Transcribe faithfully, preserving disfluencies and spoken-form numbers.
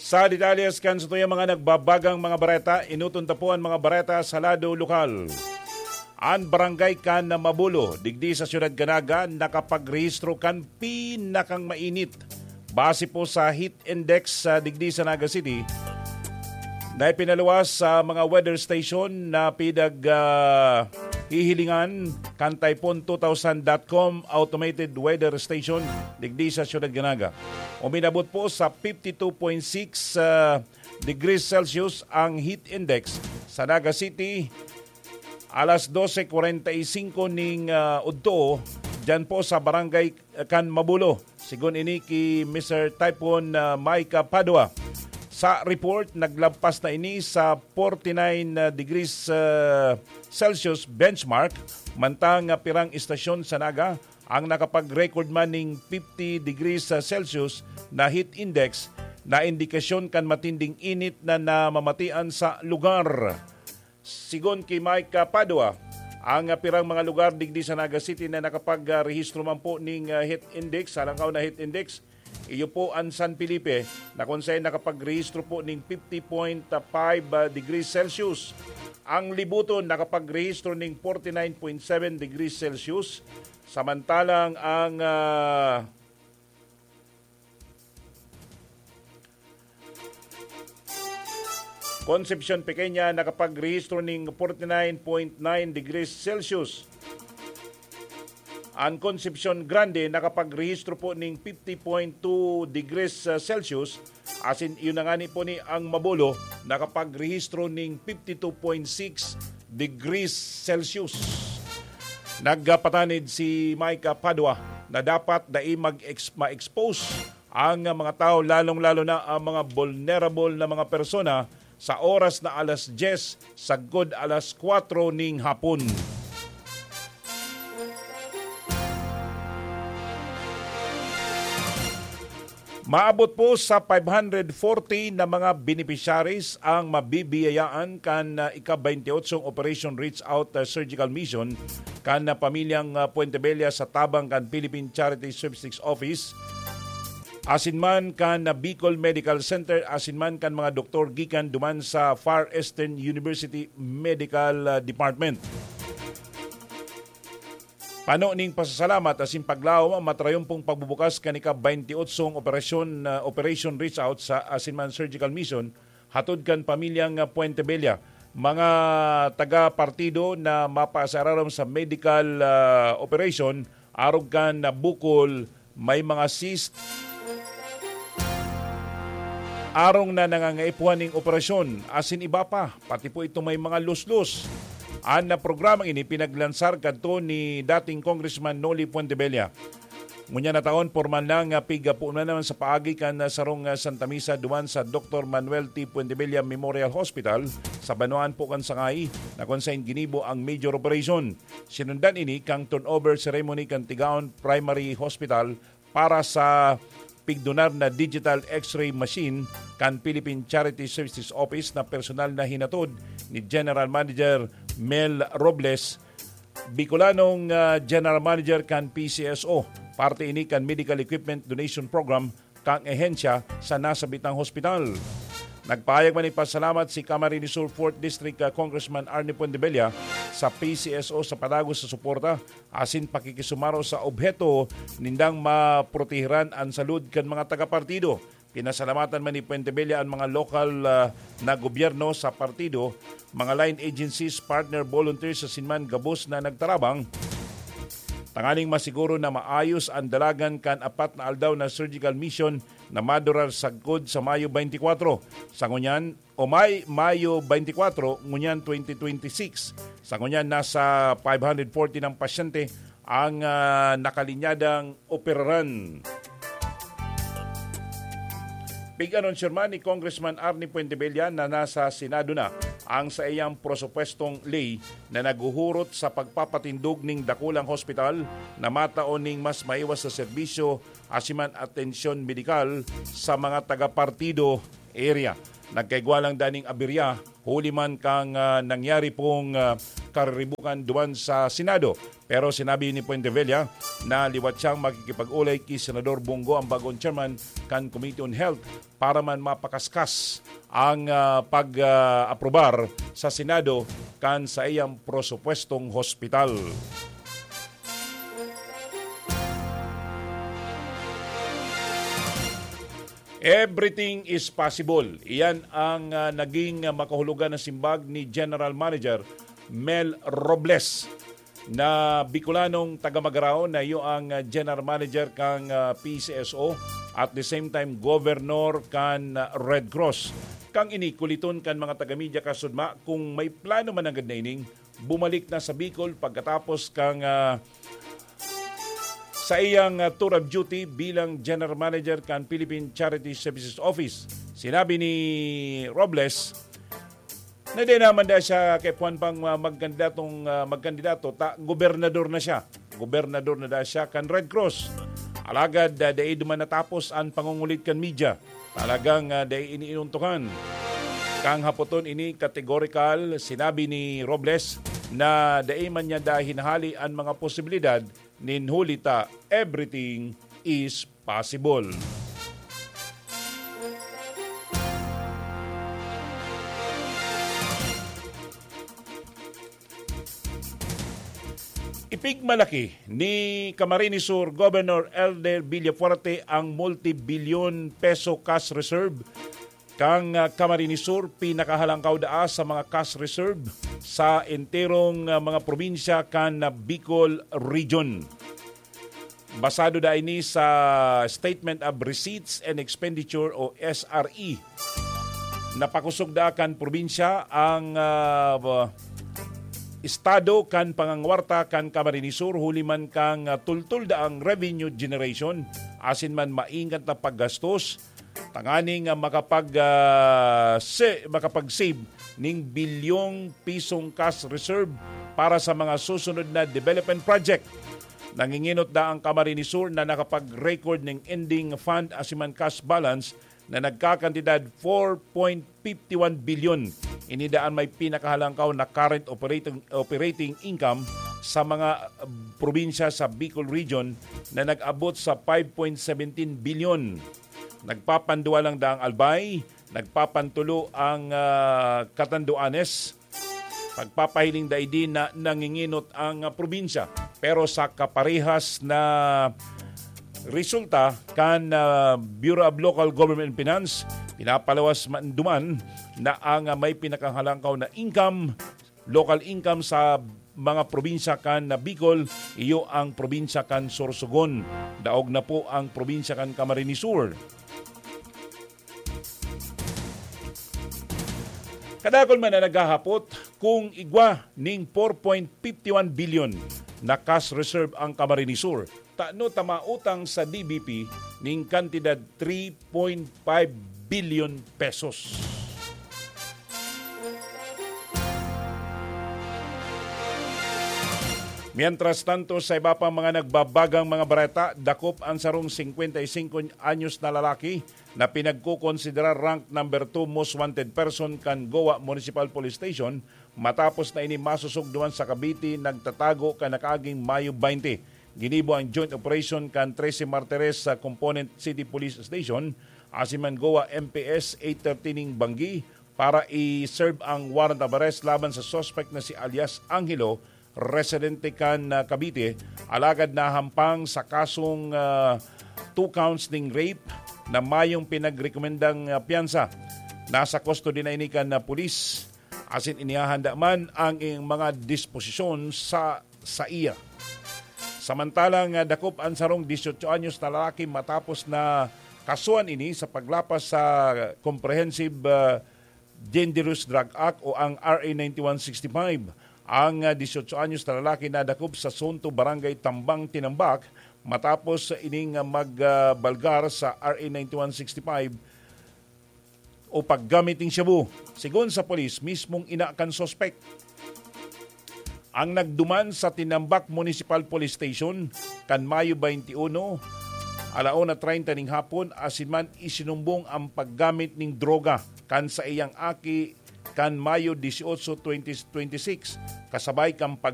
Sa detalles kan satuyang mga nagbabagang mga bareta, inuton ta po an mga bareta sa lado lokal. An barangay kan Mabulo, digdi sa Siyudad kan Naga, nakapagrehistro kan pinakang mainit. Base po sa heat index sa digdi sa Naga City, na ipinaluwas sa mga weather station na pidag, ah, hihilingan kan Typhoon two thousand dot com automated weather station digdi sa Siyudad kan Naga. Uminabot po sa fifty two point six, ah, degrees Celsius ang heat index sa Naga City, alas dose kwarenta y singko ning, ah, udto, dyan po sa barangay kan Mabulo. Sigon ini ki Mister Typhoon, ah, Micah Padua. Sa report, naglampas na ini sa forty nine degrees, ah, Celsius benchmark, mantang, ah, pirang istasyon sa Naga ang nakapag-record man ning fifty degrees Celsius na heat index, na indikasyon kan matinding init na namamatian sa lugar. Sigon ki Mike, ah, Padua, ang, ah, pirang mga lugar digdi sa Naga City na nakapag-rehistro man po ning, ah, heat index, halangkaw na heat index, iyo po an San Felipe, na kung saan nakapagrehistro po ning fifty point five, ah, degrees Celsius. Ang Libuton nakapagrehistro ning forty nine point seven degrees Celsius, samantalang ang, ah, Concepcion Pequeña nakapagrehistro ning forty nine point nine degrees Celsius. An Concepcion Grande nakapagrehistro po ning fifty point two degrees, ah, Celsius, asin iyo na ngani po ni ang Mabulo nakapagrehistro ning fifty two point six degrees Celsius. Nagpatanid si Mike Padua na dapat dai mag-ex-, ma-expose ang mga tao, lalong-lalo na ang mga vulnerable na mga persona, sa oras na alas diyes sagkod alas kwatro ning hapon. Maabot po sa five hundred forty na mga beneficiaries ang mabibiyayaan kan, ah, ika-twenty-eight Operation Reach Out, ah, Surgical Mission kan, ah, pamilyang, ah, Puentebella sa tabang kan Philippine Charity Sweepstakes Office, asin man kan, ah, Bicol Medical Center, asin man kan mga doktor gikan duman sa Far Eastern University Medical, ah, Department. Pano ning pasasalamat asin paglaom an matrayompong pagbubukas kan ika-twenty-eight operasyon, ah, Operation Reach Out sa asin man Surgical Mission hatod kan pamilyang, ah, Puentebella. Mga taga-partido na mapaasararom sa medical, ah, operation, arog kan, ah, bukol, may mga cyst, arog na nangangaipuhan ning operasyon, asin iba pa, pati po itong may mga luslos. An, ah, programang ini pinaglansar kadto ni dating Congressman Noli Fuentebella. Ngunyan na taon, pormal na nga piggapo na naman sa paagi kan, ah, sarong, ah, Santa Misa duman sa Doktor Manuel T. Fuentebella Memorial Hospital sa banwaan po kan Sangay, na kung sain ginibo ang major operation. Sinundan ini kan turnover ceremony kan Tigaon Primary Hospital para sa pigdonar na digital X-ray machine kan Philippine Charity Services Office na personal na hinatod ni General Manager Mel Robles, Bicolanong, ah, General Manager kan P C S O. Parte ini kan Medical Equipment Donation Program kan ehensya sa nasabitang hospital. Nagpahayag man nin pasalamat si Camarines Sur Fourth District, ah, Congressman Arnie Fuentebella sa P C S O sa padagos sa suporta asin pakikisumaro sa obheto nindang maprotehiran an salud kan mga taga-partido. Pinasalamatan man ni Fuentebella an mga lokal, ah, na gobyerno sa partido, mga line agencies, partner volunteers asin man gabos na nagtarabang tanganing masiguro na maayos an dalagan kan apat na aldaw na surgical mission na madurar sagkod sa Mayo twenty-four. Sa ngunyan, o May, Mayo twenty-four, ngunyan twenty twenty-six. Sa ngunyan, nasa five hundred forty ng pasyente ang, ah, nakalinyadang operaran. Pig-anunsyo man ni Congressman Arnie Fuentebella na nasa Senado na ang saiyang presupuestong ley na naghuhurot sa pagpapatindog ning dakulang hospital na matao ning mas maiwas sa serbisyo asin man atensyon medikal sa mga taga-partido area. Nagkaigwa lang daning aberya huli man kan, ah, nangyari pong, ah, kariribukan duman sa Senado. Pero sinabi ni Puentevilla na liwat siyang makikipag-olay ki Senador Bong Go, ang bagong chairman kan Committee on Health, para man mapakaskas ang, ah, pag, ah, aprobar sa Senado kan saiyang prosupwestong hospital. Everything is possible. Iyan ang, ah, naging, ah, makahulugan na simbag ni General Manager Mel Robles, na Bicolanong taga Magarao, na iyo ang, ah, General Manager kan, ah, P C S O, at the same time Governor kan, ah, Red Cross. Kan ini, kuliton kan mga taga-media kasudma kung may plano man nanggad na ining bumalik na sa Bicol pagkatapos kan, ah, sa iyang, ah, tour of duty bilang General Manager kan Philippine Charity Services Office. Sinabi ni Robles na di naman da siya kaipuhan pang, ah, magkandidatong, ah, magkandidato, ta gobernador na siya. Gobernador na da siya kan Red Cross. Alagad, ah, dai duman natapos an pangungulit kan media. Talagang, ah, dai ini inuntukan. Kan hapoton ini, kategorikal, sinabi ni Robles na dai man niya da hinahali an mga posibilidad nin huli ta everything is possible. Ipigmalaki ni Camarines Sur Governor Elder Villafuerte ang multi-bilyon peso cash reserve kan, ah, Camarines Sur, pinakahalangkaw daa sa mga cash reserve sa enterong, ah, mga probinsya kan, ah, Bicol Region. Basado da ini sa Statement of Receipts and Expenditure o S R E. Napakosog da kan probinsya ang, ah, estado kan pangangwarta kan Camarines Sur, huli man kan, ah, tultol da ang revenue generation, asin man maingat na paggastos, tanganing, ah, makapag, ah, se-, makapag-save ning bilyong pisong cash reserve para sa mga susunod na development project. Nanginginot da ang Camarines Sur na nakapag-record ning ending fund asin man cash balance na nagkakantidad four point fifty one bilyon. Ini daan may pinakahalangkaw na current operating, operating income sa mga, uh, probinsya sa Bicol Region na nag-abot sa five point seventeen bilyon. Nagpapanduwa lang da ang Albay, nagpapantulo ang, ah, Catanduanes. Pagpapahiling daidi na nanginginot ang, ah, probinsya. Pero sa kaparehas na resulta kan, ah, Bureau of Local Government and Finance, pinapalawas man duman na ang, ah, may pinakahalangkaw na income, local income sa mga probinsya kan Bicol, iyo ang probinsya kan Sorsogon. Daog na po ang probinsya kan Camarines Sur. Kadakul man na naghahapot kung igwa ning four point fifty one bilyon na cash reserve ang Camarines Sur. Tano ta mautang sa D B P ning kantidad three point five bilyon pesos. Mientras tanto, sa iba pang mga nagbabagang mga bareta, dakop ang sarong singkwenta y singko anyos na lalaki na pinagkokonsidera rank number two most wanted person kan Goa Municipal Police Station matapos na ini masosog duman sa Cavite, nagtatago kan nakaaging Mayo twenty. Ginibo ang joint operation kan Trese Martires sa Component City Police Station, asin man Goa M P S eight thirty ning Banggi para i-serve ang warrant of arrest laban sa suspect na si alias Angelo, residente kan, ah, Cavite, alagad nahampang sa kasong, ah, two counts ning rape na mayong pinagrekomendang, ah, piyansa. Nasa custody na ini kan, ah, pulis, asin inihahanda man ang iyang mga disposisyon sa saiya. Samantalang, ah, dakop an sarong dieciocho anyos na lalaki matapos na kasuhan ini sa paglapas sa Comprehensive, ah, Dangerous Drug Act o ang R A ninety-one sixty-five. Ang, ah, dieciocho anyos na lalaki nadakop sa Sunto, Barangay Tambang, Tinambak, matapos ining, ah, mag, ah, balgar sa R A ninety-one sixty-five o paggamit ning shabu. Sigon sa pulis, mismong ina kan suspek ang nagduman sa Tinambak Municipal Police Station kan Mayo twenty-one, ala una treinta ning hapon, asin man isinumbong ang paggamit ning droga kan saiyang aki kan Mayo dieciocho, twenty twenty-six, kasabay kan